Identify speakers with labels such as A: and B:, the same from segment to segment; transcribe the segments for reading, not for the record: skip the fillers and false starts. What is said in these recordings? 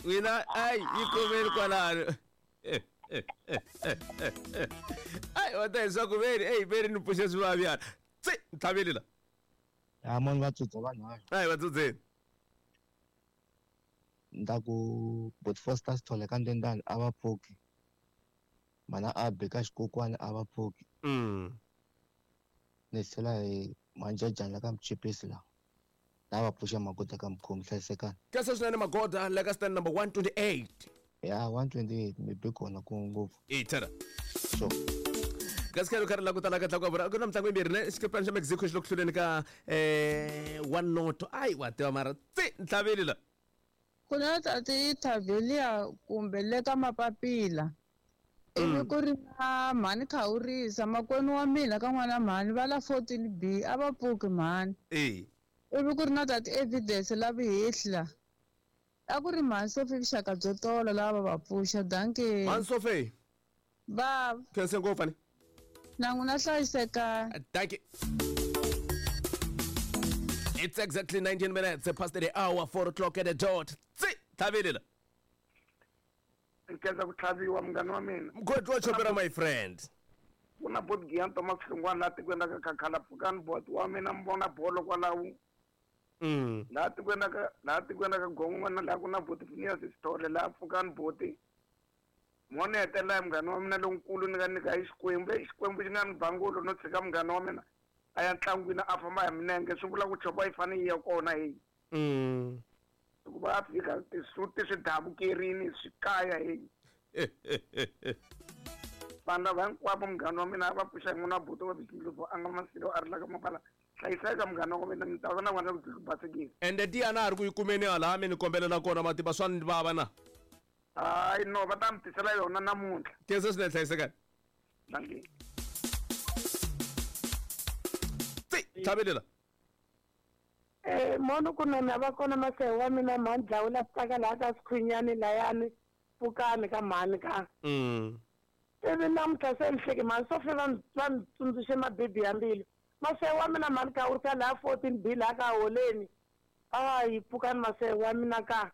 A: N'wina ai yi kumeni kwalano. Ai wa ta leswaku veri eyi veri ni pfuxe swivavyana. Tsi ntlhaveli la.
B: Ya mani va tsudza vanharhu.
A: Ai va tsudzeni.
B: Ni ta ku Bot Foster Sithole ka Ndendani a va pfuki. Mana Abe ka Xikokwani a va pfuki. Ni tlhela hi Manjajani la ka Mchipisi la. La va pfuxa Magoda ka Mkhomi hlayisekani.
A: Khensa swinene Magoda la ka stand number 128.
B: Ya 128 mi be kona ku ngopfu.
A: E tshara.
B: Sure.
A: Kasi khale karhi la ku tala ka tlakuka vura ku na mitlangu yimbirhi ne xikepana xa Mexico xi le ku hluleni ka one noto ayi wa tiva mara tsi ntlhaveli la.
C: Ku na tati Thavelia kumbe le ka Mapapila. Ivi ku ri na mhani Khawurisa makwenu wa mina ka n'wana mhani va la 14B a va pfuki mhani.
A: E.
C: Ivi ku ri na tati Evidence la Vihihla. A ku ri mhani Sophie vuxaka byo tolo lava va va pfuxa. Dankie.
A: Mhani Sophie.
C: Bava.
A: Khense ngopfu ani.
C: Na n'wina hlayisekani.
A: Dankie. It's exactly 19 minutes past the hour, 4 o'clock at the dot. Tsi, tlhavelela.
D: Nkhensa ku tlhaviwa munghana wa mina.
A: Mkhwethu wa chopera my friend.
D: Ku na bot Giyan Thomas Hlungwana laha tikweni ra ka Khakhala pfukani bot wa mina mi vona bolo kwalaho. Laha tikweni ra ka laha tikweni ra ka Gongwana laha ku na bot Phineas Sithole laha pfukani boti. Mo ni hetelela hi munghana wa mina lonkulu ni nga nyika hi Xikwembu. Eyi Xikwembu xi nga ni ba ngolo no tshika munghana wa mina a ya ntlangwini a famba hi milenge swi vula ku chopa yi fanele yi ya kona heyi. Hikuva a fika tisuti swi davukerini swi kaya heyi. Vanhu lava hinkwavo munghana wa mina a va pfuxa hi n'wana wa buti wa Bishop a nga Masilo a ri la ka Mapala. Hlayiseka munghana wa mina ni ta va na n'wana ku basekile.
A: Ende tiya na ha ri ku yi kumeni hala mi ni kombelela kona mativa swa ni vava na.
D: Hayi no va ta mi tisela yona namuntlha.
A: Khensa swinene hlayisekani.
D: Dankie.
A: Tsi, tlhavelela.
E: Eh mono kunene a va kona masehe wa mina mhani dlawula swi laha ka Sikhwinyani layani pfukani ka mhani ka. Ivi namuntlha se ni hleke mhani Sophie va ni va ni tsundzuxe mabibi ya mbilu. Masehe wa mina mhani Khawurisa laha 14B laha ka Holeni. Hayi pfukani masehe wa mina ka.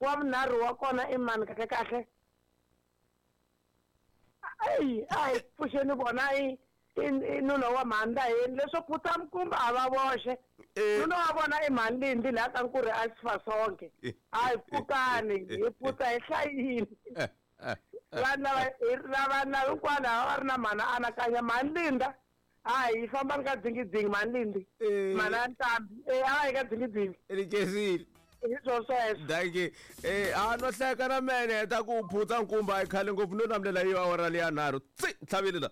E: Wa vunharhu wa kona i mani kahle kahle? Eyi a hi pfuxeni vona i i nuna wa mhani Ndaheni leswo phutha mkumba a va voxe. Nuna wa vona i mhani Lindi laha ka Nkurhi a Sifasonke. A hi pfukani hi phutha hi hlayile. Vanhu lava lava lava hinkwavo lava va ri na mhani anakanya mhani Linda hayi fambani ka dzingidzingi mhani Lindi. Mhani a Ntambi e a va yi ka dzingidzingi.
A: Ni khensile.
E: Hi swo sweswo.
A: Dankie. Eh a no hleka na mene heta ku phutsa nkumba a yi khale ngopfu no namulela yi awara leya nharhu. Tsi ntlhaveli la.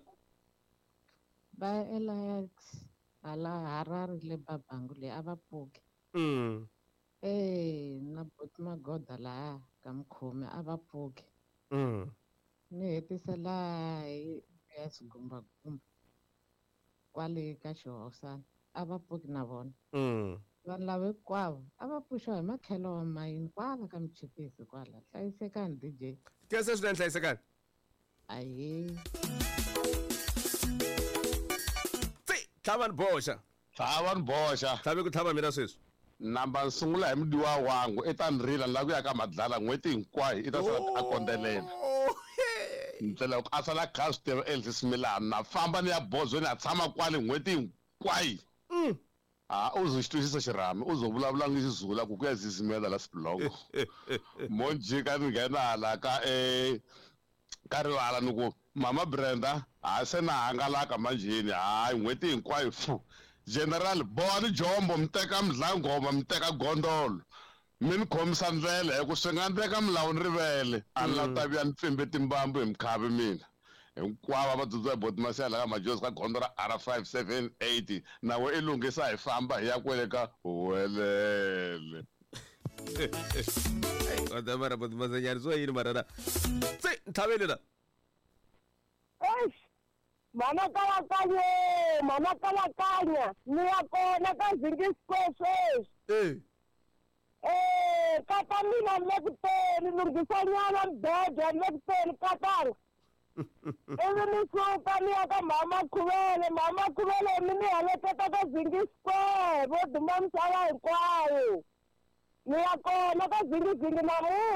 F: Va Elias hala Harare le Babangu le a va pfuki. Eh na buti Magoda laha ka Mukhomi a va pfuki. Ni hetisa laha hi ya Xigumbagumba kwale ka Xihosana a va pfuki na vona. Vanhu lava hinkwavo a va pfuxiwa hi makhelo wa mayini kwala ka Muchipisi kwala. Hlayisekani DJ.
A: Khensa swinene hlayisekani.
F: Ahee.
A: Tsi tlhava ni boxa.
G: Tlhava ni boxa.
A: Tlhave ku tlhava mina sweswi.
G: Namba ni sungula hi mudiwa wangu i ta ni rila ni lava ku ya ka Madlala n'hweti hinkwayo i ta sala a kondzelela. Ndlela loko a sala a kha a swi tiva endli swimilana na famba ni ya bozweni a tshama kwale n'hweti hinkwayo. Ha u zo xi twisisa xirhami u zo vulavula ngi Xizulu ku ku ya zizimela la sibulongo. Mo jika ni nghena hala ka ka rivala ni ku mama Brenda ha se na hangalaka manjheni hayi n'hweti hinkwayo fu general bohani jombo mi teka mdlangoma mi teka gondolo mi ni khomisa ndlela hi ku swi nga endleka milawu ni rivele a ni la ta vuya ni pfimbe timbambu hi mikhavi mina hinkwavo va dzudza hi boti Masiya la ka Majozi ka gondzo ra R 578 na we i lunghisa hi famba hi ya kwele ka Huwelele.
A: Kodwa mara boti Masenyani swo yini mara na tsi ntlhaveli la.
E: Eish mhana kalakanye mhana kalakanya ni ya kona ka Zingi Square sweswi.
A: Eh.
E: Eh kata mina ni le ku teni lunghisanyana mbedwa ni le ku teni katanga. Ivi ni suka ni ya ka mhama Khuvele mhama Khuvele mi ni heleketa ka Zingi Square vo duma misava hinkwayo. Ni ya kona ka Zingizingi namuntlha.